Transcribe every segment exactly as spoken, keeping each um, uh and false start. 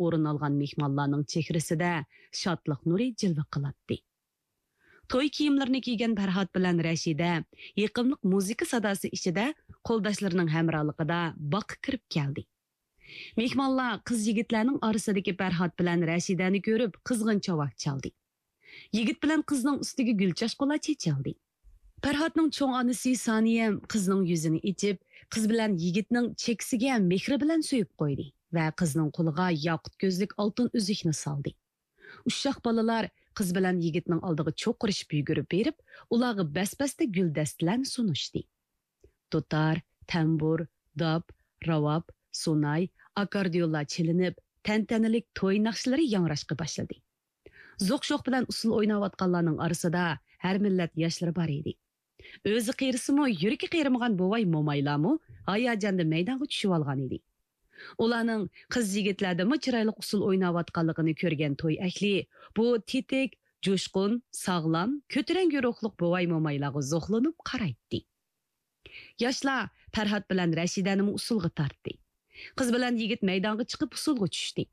ئورۇن ئالغان مېھمانلارنىڭ چېھرىسىدە شادلىق نۇرى جىلۋە قىلاتتى. توي كىيىملىرىنى كىيگەن پەرھات بىلەن رەشىدە يېقىملىق مۇزىكا ساداسى ئىچىدە قولداشلىرىنىڭ ھەمراھلىقىدا باغقا كىرىپ كەلدى. مېھمانلار قىز يىگىتلەرنىڭ ئارىسىدىكى پەرھات بىلەن رەشىدەنى كۆرۈپ قىزغىن چاۋاك چالدى. يىگىت بىلەن قىزنىڭ ئۈستىگە گۈل چاچقۇلار چېچىلدى. پەرھاتنىڭ چوڭ ئانىسى سانىيەم قىزنىڭ يۈزىنى ئېچىپ، قىز بىلەن يىگىتنىڭ چېكىسىگە مېھرى بىلەن سۆيۈپ قويدى ۋە قىزنىڭ قولىغا ياقۇت كۆزلۈك ئالتۇن ئۈزۈكنى سالدى. ئۇششاق بالىلار قىز بىلەن يىگىتنىڭ ئالدىغا چوقۇرۇشۇپ يۈگۈرۈپ بېرىپ، ئۇلارغا بەس-بەستە گۈلدەستىلەرنى سۇنۇشتى. دۇتار، تەمبۇر، داپ، راۋاب، سۇناي، ئاككوردىيونلار چېلىنىپ، تەنتەنىلىك توي ناخشىلىرى ياڭراشقا باشلىدى. زوق-شوق بىلەن ئۇسسۇل ئويناۋاتقانلارنىڭ ئارىسىدا ھەر مىللەت ياشلىرى بار ئىدى. ئۆزى قېرىسىمۇ، يۈرىكى قېرىمىغان بوۋاي-مومايلارمۇ ھاياجاندا مەيدانغا چۈشۈۋالغان ئىدى. ئۇلارنىڭ قىز يىگىتلەردىنمۇ چىرايلىق ئۇسسۇل ئويناۋاتقانلىقىنى كۆرگەن توي ئەھلى بۇ تېتىك، جۇشقۇن، ساغلام، كۆتۈرەڭگۈ روھلۇق بوۋاي-مومايلارغا زوقلىنىپ قارايتتى. ياشلار پەرھات بىلەن رەشىدەنىمۇ ئۇسسۇلغا تارتتى. قىز بىلەن يىگىت مەيدانغا چىقىپ ئۇسسۇلغا چۈشتى.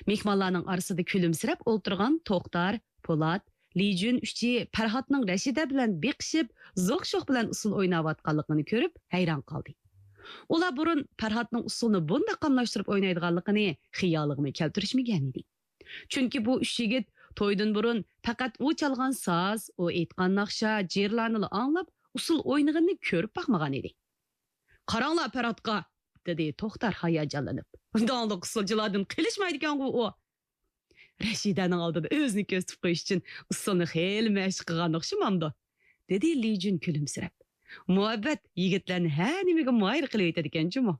مېھمانلارنىڭ ئارىسىدا كۈلۈمسىرەپ ئولتۇرغان توختار، پولات، لىجۈن ئۈچى پەرھاتنىڭ رەشىدە بىلەن بېقىشىپ، زوق-شوق بىلەن ئۇسسۇل ئويناۋاتقانلىقىنى كۆرۈپ ھەيران قالدى. ئۇلار بۇرۇن پەرھاتنىڭ ئۇسسۇلنى بۇنداق قاملاشتۇرۇپ ئوينايدىغانلىقىنى خىيالىغىمۇ كەلتۈرۈشمىگەن ئىدى. چۈنكى بۇ ئۈچ يىگىت تويدىن بۇرۇن پەقەت ئۇ چالغان ساز، ئۇ ئېيتقان ناخشا، جىرلارنىلا ئاڭلاپ، ئۇسسۇل ئوينىغىنىنى كۆرۈپ باقمىغان ئىدى. «قاراڭلار پەرھاتقا!» دېدى توختار ھاياجانلىنىپ. «داڭلىق ئۇسسۇلچىلاردىن قېلىشمايدىكەنغۇ ئۇ!» رەشىدەنىڭ ئالدىدا ئۆزىنى كۆرسىتىپ قويۇش ئۈچۈن ئۇسسۇلنى خېلى مەشىق قىلغان ئوخشىمامدۇ؟ دېدى لىجۈن كۈلۈمسىرەپ. «مۇھەببەت يىگىتلەرنى ھەر نېمىگە ماھىر قىلىۋېتىدىكەن جۇمۇ.»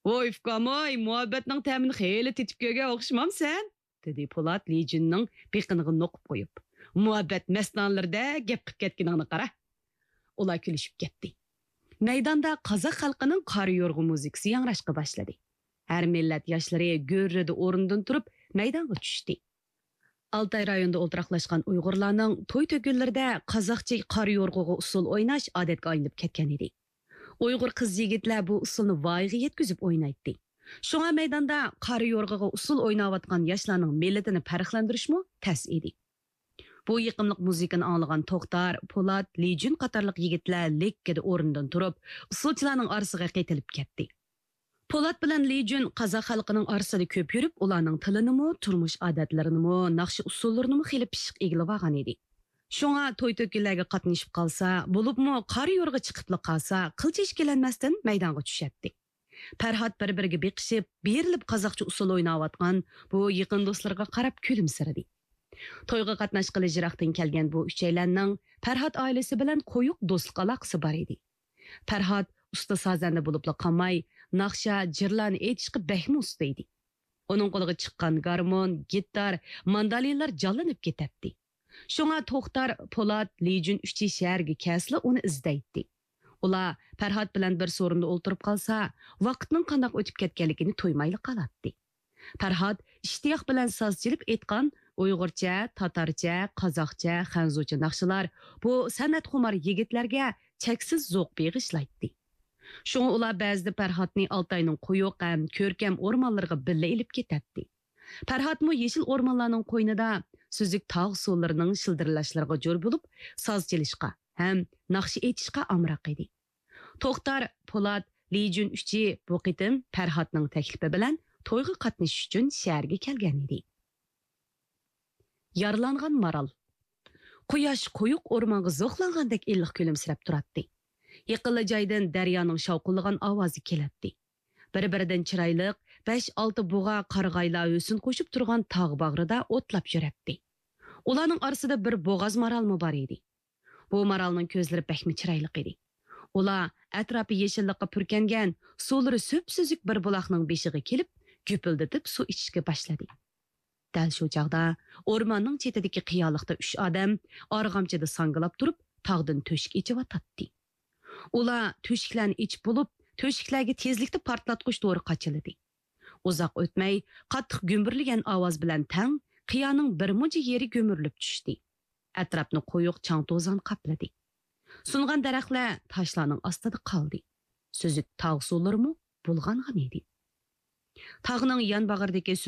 «ۋوي ئۇكام ۋوي، مۇھەببەتنىڭ تەمىنى خېلى تېتىپ كۆرگەن ئوخشىمامسەن؟» دېدى پولات لىجۈننىڭ بېقىنىغا نوقۇپ قويۇپ. «مۇھەببەت مەستانىلىرىدەك گەپ قىلىپ كەتكىنىڭنى قارا.» ئۇلار كۈلۈشۈپ كەتتى. مەيداندا قازاق خەلقىنىڭ قارا يورغا مۇزىكىسى ياڭراشقا باشلىدى. ھەر مىللەت ياشلىرى گۈررىدە ئورنىدىن تۇرۇپ مەيدانغا چۈشتى. ئالتاي رايونىدا ئولتۇراقلاشقان ئۇيغۇرلارنىڭ توي تۆكۈنلىرىدە قازاقچە قارا يورغىغا ئۇسسۇل ئويناش ئادەتكە ئايلىنىپ كەتكەن ئىدى. ئۇيغۇر قىز يىگىتلەر بۇ ئۇسسۇلنى ۋايىغا يەتكۈزۈپ ئوينايتتى. شۇڭا مەيداندا قارا يورغىغا ئۇسسۇل ئويناۋاتقان ياشلارنىڭ مىللىتىنى پەرقلەندۈرۈشمۇ تەس ئىدى. بۇ يېقىملىق مۇزىكىنى ئاڭلىغان توختار، پولات، لىجۈن قاتارلىق يىگىتلەر لىككىدە ئورنىدىن تۇرۇپ، ئۇسسۇلچىلارنىڭ ئارىسىغا قېتىلىپ كەتتى. پولات بىلەن لىجۈن قازاق خەلقىنىڭ ئارىسىدا كۆپ يۈرۈپ، ئۇلارنىڭ تىلىنىمۇ، تۇرمۇش ئادەتلىرىنىمۇ، ناخشا ئۇسسۇللىرىنىمۇ خېلى پىششىق ئىگىلىۋالغان ئىدى. شۇڭا توي تۆكۈنلەرگە قاتنىشىپ قالسا، بولۇپمۇ قارا يورغا چىقىپلا قالسا، قىلچە ئىككىلەنمەستىن مەيدانغا چۈشەتتى. پەرھات بىر-بىرىگە بېقىشىپ، بېرىلىپ قازاقچە ئۇسسۇل ئويناۋاتقان بۇ يېقىن دوستلىرىغا قاراپ كۈلۈمسىرىدى. تويغا قاتناشقىلى يىراقتىن كەلگەن بۇ ئۈچەيلەننىڭ پەرھات ئائىلىسى بىلەن قويۇق دوستلۇق ئالاقىسى بار ئىدى. پەرھات ئۇستا سازەندە بولۇپلا قالماي، ناخشا، جىرلارنى ئېيتىشقا بەكمۇ ئۇستا ئىدى. ئۇنىڭ قولىغا چىققان گارمون، گىتار، ماندالىنلار جانلىنىپ كېتەتتى. شۇڭا توختار، پولات، لىجۈن ئۈچى شەھەرگە كەلسىلا ئۇنى ئىزدەيتتى. ئۇلار پەرھات بىلەن بىر سورۇندا ئولتۇرۇپ قالسا، ۋاقىتنىڭ قانداق ئۆتۈپ كەتكەنلىكىنى تۇيمايلا قالاتتى. پەرھات ئىشتىياق بىلەن ساز چېلىپ ئېيتقان ئۇيغۇرچە، تاتارچە، قازاقچە، خەنزۇچە ناخشىلار بۇ سەنئەتخۇمار يىگىتلەرگە چەكسىز زوق بېغىشلايتتى. شۇڭا ئۇلار بەزىدە پەرھاتنى ئالتاينىڭ قويۇق ھەم كۆركەم ئورمانلىرىغا بىللە ئېلىپ كېتەتتى. پەرھاتمۇ يېشىل ئورمانلارنىڭ قوينىدا سۈزۈك تاغ سۇلىرىنىڭ شىلدىرلاشلىرىغا جور بولۇپ، ساز چېلىشقا ھەم ناخشا ئېيتىشقا ئامراق ئىدى. توختار، پولات، لىجۈن ئۈچى بۇ قېتىم پەرھاتنىڭ تەكلىپى بىلەن تويغا قاتنىشىش ئۈچۈن شەھەرگە كەلگەن ئىدى. يارىلانغان مارال. قۇياش قويۇق ئورمانغا زوقلانغاندەك ئىللىق كۈلۈمسىرەپ تۇراتتى. يېقىنلا جايدىن دەريانىڭ شاۋقۇنلىغان ئاۋازى كېلەتتى. بىر-بىرىدىن چىرايلىق بەش-ئالتە بۇغا قارىغايلار ھۆسن قوشۇپ تۇرغان تاغ باغرىدا ئوتلاپ يۈرەتتى. ئۇلارنىڭ ئارىسىدا بىر بوغاز مارالمۇ بار ئىدى. بۇ مارالنىڭ كۆزلىرى بەكمۇ چىرايلىق ئىدى. ئۇلار ئەتراپى يېشىللىققا پۈركەنگەن، سۇلىرى سۈپسۈزۈك بىر بۇلاقنىڭ بېشىغا كېلىپ، گۈپۈلدىتىپ سۇ ئىچىشكە باشلىدى. دەل شۇ چاغدا ئورماننىڭ چېتىدىكى قىيالىقتا ئۈچ ئادەم ئارغامچىدا ساڭگىلاپ تۇرۇپ، تاغدىن تۆشۈك ئېچىۋاتاتتى. ئۇلار تۆشۈكلەرنى ئېچىپ بولۇپ، تۆشۈكلەرگە تېزلىكتە پارتلاتقۇچ دورا قاچىلىدى. ئۇزاق ئۆتمەي، قاتتىق گۈمبۈرلىگەن ئاۋاز بىلەن تەڭ قىيانىڭ بىر مۇنچە يېرى گۈمۈرۈلۈپ چۈشتى. ئەتراپنى قويۇق چاڭ-توزان قاپلىدى. سۇنغان دەرەخلەر تاشلارنىڭ ئاستىدا قالدى. سۈزۈك تاغ سۇلىرىمۇ بۇلغانغان ئىدى. تاغنىڭ يان باغرىدىكى سۈزۈك